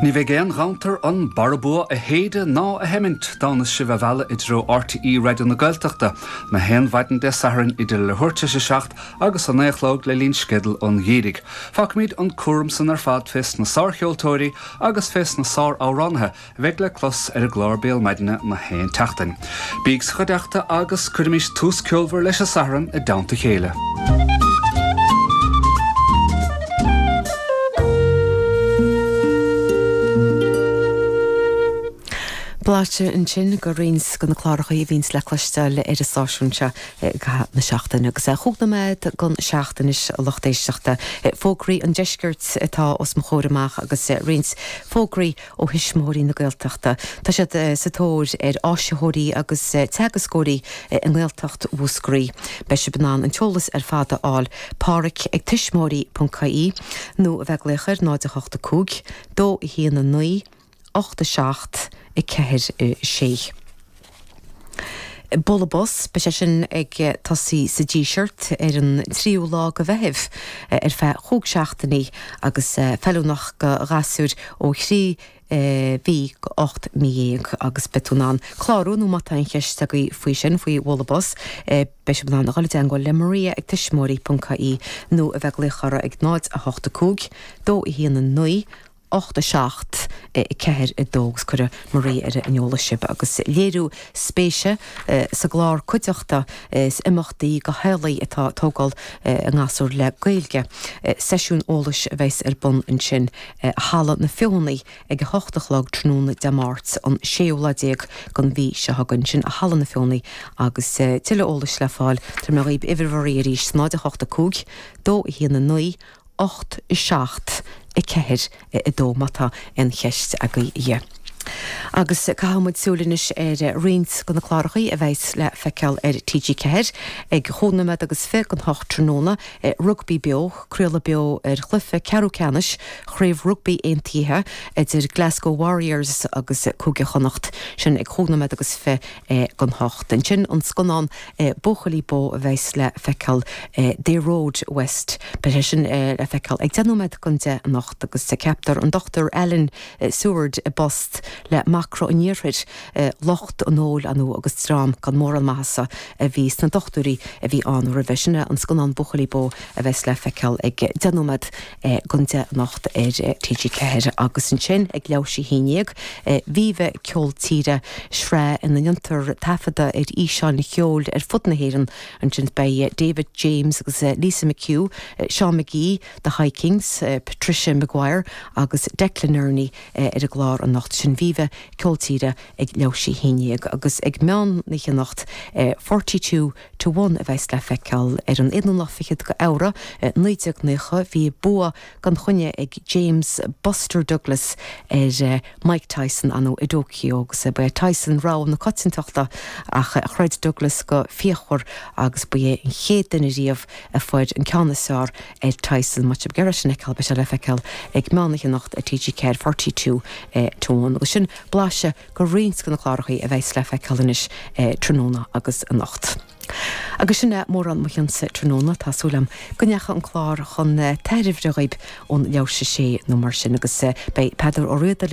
Ní bheidh aon ghanntar an barra bua a shéideadh ná a sheimint dá mbeas sibh á mhealladh i dtreo RTÉ Raidió na Gaeltachta na haon mhaidin Dé Sathairn idir leathuair tar éis a 7 agus a 9 a chlog le linn sceideal an gheimhridh. Fágfaimid an cúram san ar fad fés na sárcheoltóirí agus fés na sár-amhránaithe a bheidh le clos ar an gclár Béal Maidine na haon tseachtain. Bíg sa chuideachta agus cuirimis tús ceolmhar leis an Satharn i dteannta a chéile. Blaiseadh ansin de roinnt de na cláracha a bhíonns le cloisteáil ar an stáisiún seo i gcaitheamh na seachtaine. Agus chúig nóiméad don seacht anois, a lucht éisteachta. Fógraí an Deiscirt atá os mo chomhair amach agus roinnt fógraí ó Thuismitheoirí na Gaeltachta. Tá siad sa tóir ar áisitheoirí agus teagascóirí i nGaeltacht Mhúscraí. Beidh sibh in ann an t-eolas ar fad a fháil Páraic ag tuismitheoirí ponc ie nó a bheith ag glaoch ar 0 8 5 2 1 9 8 7 4 6. Bualadh Bos, beidh sé sin ag tosaí sa Díseart ar an tríú lá de Mheitheamh ar feadh chúig seachtainí agus feiliúnach do ghasúir ó thrí mhí go 18 mí agus beidh tú in ann clárú nó má tá aon cheist agaibh faoi sin, faoi Bhualadh Bos, beidh sibh in ann a dhul i dteangmháil le Maria ag tuismitheoirí.ie nó a bheith ag glaoch orthu ag 0 8 5 2 1 9 8 7 4 2 agus cuirfidh Maria ar an eolas sibh agus léiriú spéise sa gclár Cuideachta is imeachtaí do theaghlaigh atá ag tógáil a ngasúr le Gaeilge. Seisiún eolais a bheas ar bun ansin i Halla na Feothanaí ag 8 a chlog tráthnóna Dé Máirt an séú lá déag den mhí seo chugainn. Sin i Halla na Feothanaí agus tuilleadh eolais le fáil tabharfaidh mé dhaoibh uimhir Mharia arís 0 8 5 2 1 9 8 7 4 2 má tá aon cheist agaibh. Agus caithfidh muid súil anois ar roinnt de na clárachaí a bheas le feiceáil ar TG4 ag chúig nóiméad agus fi don hocht tráthnóna, Rugbaí Beo, craoladh beo ar chluiche ceathrú ceannais Chraobh Rugbaí Aontaithe idir Glasgow Warriors agus Cúige Chonnacht, sin ag chúig nóiméad agus fi don hocht. Ansin an scannán Buachaillí Bó a bheas le feiceáil They Rode West. Beidh sé sin le feiceáil ag 10 nóiméad don 10 anocht agus ceaptar an Dr Alan Seward i bpost le Macra an Iarthair, lucht an óil ar ndóigh agus dream gan mórán maitheasa a bhí sna dochtúirí a bhí ann roimhe. Sin é an scannán Buachaillí Bó a bheas le feiceáil ag 10 nóiméad don 10 anocht ar TG4 agus ansin ag leathuair théis a haon dhéag, Viva Ceol Tíre, sraith ina ndéantar taifeadadh ar fhíseáin cheoil ar fud na hÉireann. Ansin beidh David James agus Lisa McHugh, Seán McGee, The High Kings, Patricia Maguire agus Declan Nerney ar an gclár anocht. Sin Viva Ceol Tíre ag leathuair théis a haon dhéag agus ag meán oíche anocht, 42 to One a bheas le feiceáil ar an aonú lá fichead de Fheabhra 1990. Bhí bua gan choinne ag James Buster Douglas ar Mike Tyson ann i dTóiceo agus ba é Tyson rogha na coitiantachta ach throid Douglas go fíochmhar agus ba é an chéad duine riamh a fuair an ceann is fearr ar Tyson. Má tá sibh ag iarraidh sin a fheiceáil beidh sé le feiceáil ag meán oíche anocht ar TG4 42 to One agus sin blaiseadh de roinnt de na clárachaí a bheas le feiceáil anois tráthnóna agus anocht. Agus sin é mórán mo chionsa tráthnóna. Tá súil agam go ndeachaigh an clár chun tairbhe dhaoib ón leathuair théis a sé nó mar sin agus beidh Peadar Ó Riada le.